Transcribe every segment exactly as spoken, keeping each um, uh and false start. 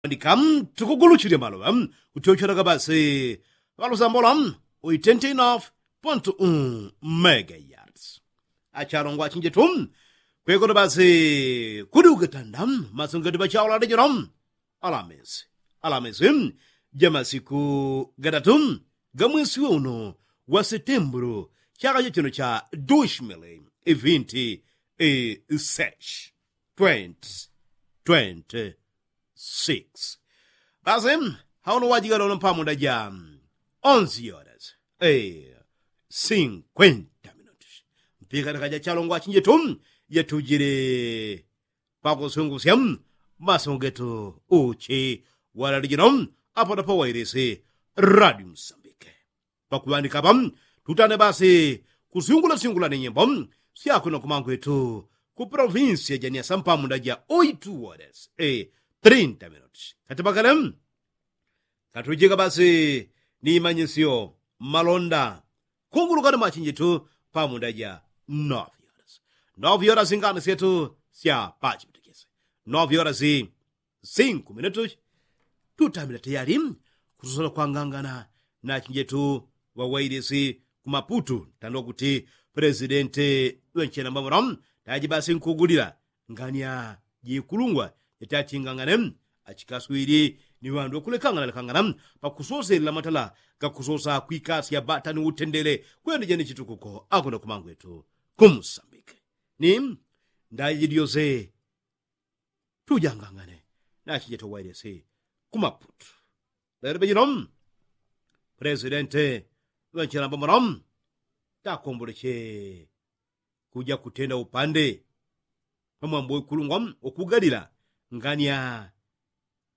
ndika tukuguluchile maloŵa kutyochelaga basi ŵalusambola uitenti enough pontu um mega yards. Achalongwa achinjetu kwekolo basi kudi ukutanda masungeti ŵachaula lijolo alamisi alamisi jamasiku gatatu gamwesi weuno wa setembulu chaka chachino cha dushmili ivinti isesh twenty twenty six. Basi hauno wajigala uno mpamunda ja onzi yoras e sinkwenta minuti mpika likaja chalongwa achinjetu jatujile pakusungusya masungetu uchi walalijino apo na pawailisi radio msambike pakuŵandika apa tutane basi kusingula singula ni nyimbo syakwino kumangwetu ku provinsia ja niasa mpamunda ja oitu wodes e trinta minuti katipakale katujika basi ni imanyisyo mmalonda kungulukani mwachinjitu pamunda ja novi yoras novi yoras ngani syetu sya pachipitikisi novi yoras sinku minutu tutamila tayali kusosola kwangangana na achinjetu ŵawailisi ku maputu tando kuti presidenti ŵenchena mbamura taji basi nkugulila ngania jikulungwa jatachingangane achikaswili ni ŵandu ŵakulekangana lekangana pakusoselela matala gakusosa kwikasya bata ni utendele kwenda jani chitukuko akuna kumangwetu kumusambike ni ndaji jidiyose tujangangane nachijeta wailesi ku maputu lelo bejino presidente ŵanchilamba muno takomboleche kuja kutenda upande pamwambo ikulungwa ukugalila ngania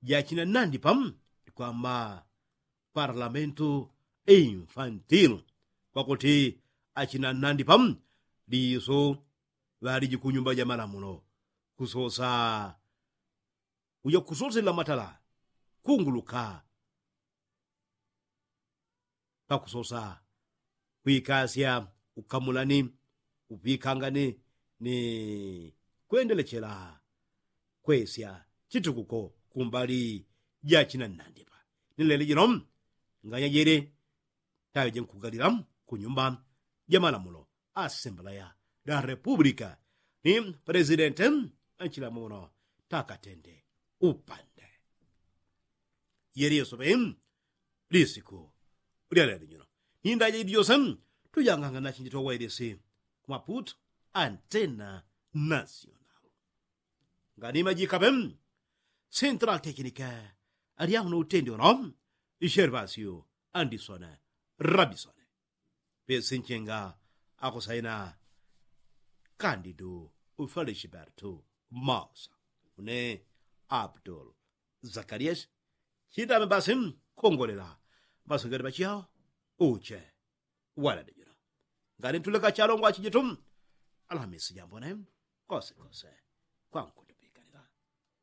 jachina nandipa ikwamba parlamentu infantil kwakuti achina nandipa liso ŵaliji kunyumba ja malamulo kusosa uja kusosela matala kunguluka pakusosa kwikasya ukamulani upikangani ni kwendelechela kwesya chitukuko kumbali jachina nandipa ni leli jino nganya jele taŵe jenkugalila kunyumba jamalamulo asembleya da repupulika ni presidente anchilamba muno takatende upande yeli yosope lisiku lyalelo jino ni ndaja jidi jose tujanganga nachinji towailisi ku maputu antena nasional nganima jikape central tekinike alyahuno utendi uno shervasio andisone rabisone pesinchenga akusaina kandidu ufalishibertu mausa une abdul zakarias chitame basi kongolela basongele bachiyao uche walade jino ngani ntuleka chalongwa chijitu alamisi jambone kosekose kwankutupikalila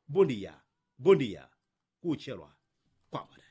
bundiya bundiya kuchelwa kwambone